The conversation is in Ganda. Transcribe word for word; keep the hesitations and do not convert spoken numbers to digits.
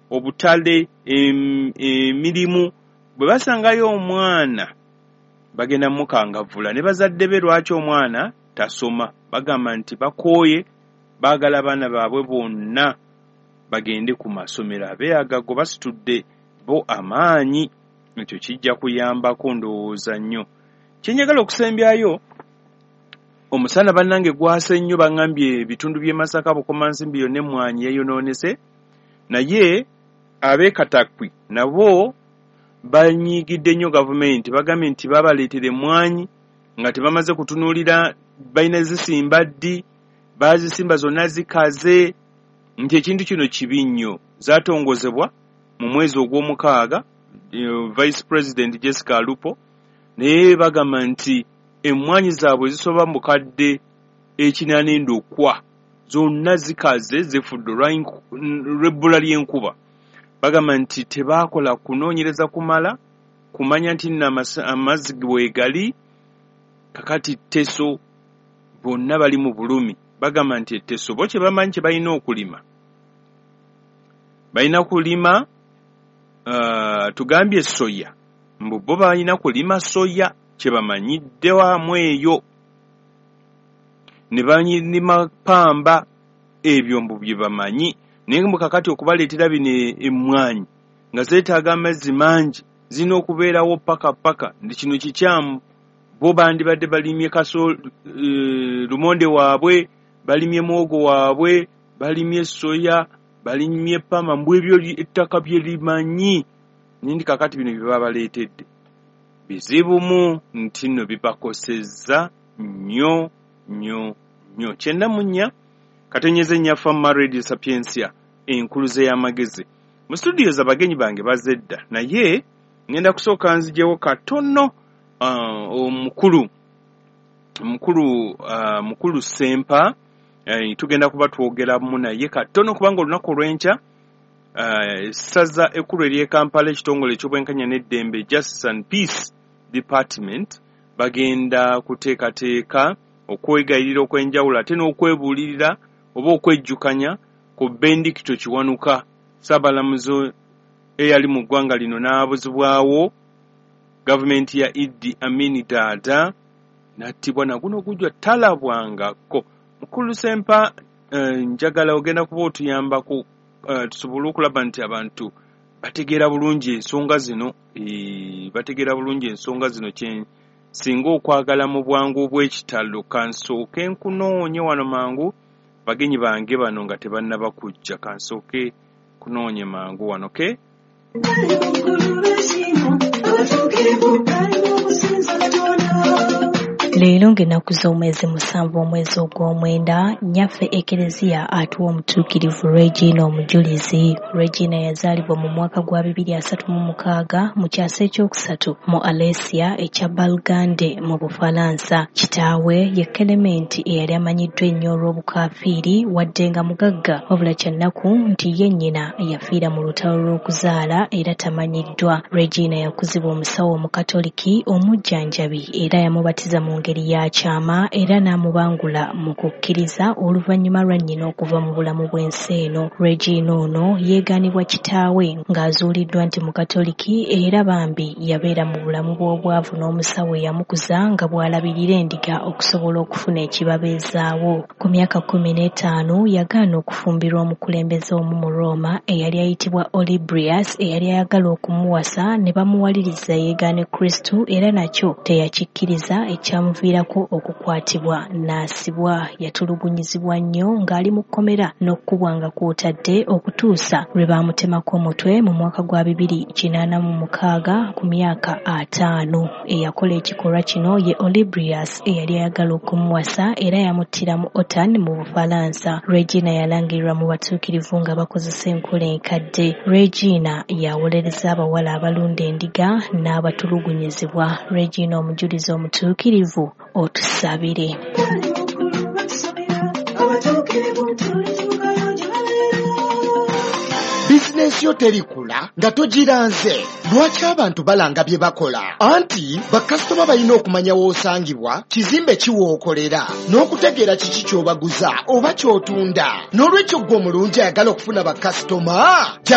Obutale, emirimu, bwe basangayo omwana bagenda mukangavvula ne bazadde be lwaki omwana tasoma. Bagamba nti bakooye, baagala abaana baabwe bonna bagende ku masomero. Abeeyagago basitudde bo amaanyi, ekyo kijja kuyambako ndowooza nnyo. Kye njagala okusembyayo, omusana bannange gwase nnyo, baŋŋambye ebitundu by'e Masaka, Bukomansimbi yonna emmwanyi yayonoonese, naye ab'e Katakwi nabo banyiigidde nnyo gavumenti. Bagambye nti babaleetera emmwanyi nga tebamaze kutunuulira balina zisimba ddi, baazisimba zonna zikaze, nti ekintu kino kibi nnyo. Zaatongozebwa mu mwezi ogw'omukaaga Vice President Jessica Alupo, naye bagamba nti emmwanyi zaabwe zisoba mu bukadde ekinaana endokwa zonna zikaze, zifudde olw'ebbula ly'enkuba. Bagamba nti tebaakola kunoonyereza kumala kumanya nti nno amazzi weegali. Kakati Teso bonna bali mu bulumi. Bagamba nti Teso bo kye bamanyi kye balina okulima, balina kulima uh, tugambye soya, mbu bo balina kulima soya kye bamanyidde wamu eyo, ne balima pamba, ebyo mbu bye bamanyi. Naye mbu kakati okubaleetera bino emmwanyi nga zeetaaga amazzi mangi, zirina okubeerawo paka paka, nti kino kikyamu. Bo bandibadde balimye kaso e, lumonde waabwe, balimye muwogo waabwe, balimye soya, balimye pamba, mbu ebyo ettaka bye limanyi. Nindi kakati bino bye babaleetedde bizibumu, nti nno bibakosezza nnyo nnyo nnyo. Kyenda mu nnya katenyeze nnya Fama Radio Sapientia, enkuluze y'amagezi. Mu studios abagenyi bange bazze dda, naye ngenda kusooka nzijewo katono omukulu mukulu uh, mukulu Sempa. Uh, tugenda kuba twogeramu naye katono kubanga olunaku olw'enkya essaza uh, ekkulu ery'e Kampala, ekitongole eky'obwenkanya n'eddembe, Justice and Peace Department, bagenda kuteekateeka okwegayirira okw'enjawulo ate n'okwebuulirira oba okwejjukanya ku Benedicto Kiwanuka, ssaabalamuzi eyali mu ggwanga lino n'abuzibwawo gavumenti ya Idi Amin Dada, n'attibwa naguno gujwa talabwangako. Mukulu Sempa, eh, njagala ogenda kuba otuyambako eh, tusobole okulaba nti abantu bategeera bulungi ensonga zino, eh, bategeera bulungi ensonga zino kye singa okwagala mu bwangu obw'ekitalo. Kansooke nkunoonye wano mangu, bagenyi bange bano nga tebannaba kujja, kansooke kunoonye mangu wano ke. Leero ng'ennaku z'omwezi musanvu omwezi ogw'omwenda, nnyaffe Ekereziya atuwa omutuukirivu Regina Omujulizi. Regina yazaalibwa mu mwaka gwa bibiri asatu mu mukaaga mu kyasa ekyokusatu mu Alesia ekya Balgande mu Bufalansa. Kitaawe ye Kelementi eyali amanyiddwa ennyo olw'obukaafiiri wadde nga mugagga, wabula kya nnaku nti ye nnyina yafiira mu lutalo lw'okuzaala era tamanyiddwa. Regina yakuzibwa omusawo Omukatoliki omujjanjabi era yamubatiza mu ngeri ya kyama era n'amubangula mu kukkiriza oluvannyuma lwa nnyina okuva mu bulamu bw'ensi eno. Regina ono yeegaanibwa kitaawe ng'azuuliddwa nti Mukatoliki era bambi yabeera mu bulamu bw'obwavu n'omusawo eyamukuza nga bw'alabirira endiga okusobola okufuna ekibabeezaawo. Ku myaka kkumi n'etaano yagaana okufumbirwa omukulembeze omu mu Roma eyali ayitibwa Olibrius eyali ayagala okumuwasa ne bamuwaliriza yeegaane Kristo era nakyo teyakikkiriza ekyamuviirako okukwatibwa n'asibwa. Yatulugunyizibwa nnyo ng'ali mu kkomera n'okukubwa nga kw'otadde okutuusa lwe baamutemako omutwe mu mwaka gwa bibiri kinaana mu mukaaga ku myaka ataano. Eyakola ekikolwa kino ye Olibrius eyali ayagala okumuwasa era yamuttira mu Autun mu Bufalansa. Regina yalangirirwa mu batuukirivu nga bakozesa enkola enkadde. Regina yawolereza abawala abalunda endiga n'abatulugunyizibwa. Regina Omujulizi omutuukirivu, otusabire. Bizinensi yo terikula nga togiranze. Lwaki abantu balanga bye bakola? Anti bakasitoma balina okumanya w'osangibwa, kizimbe ki w'okolera, n'okutegeera kiki ky'obaguza oba ky'otunda. N'olwekyo ggwe omulungi ayagala okufuna bakasitoma, jangu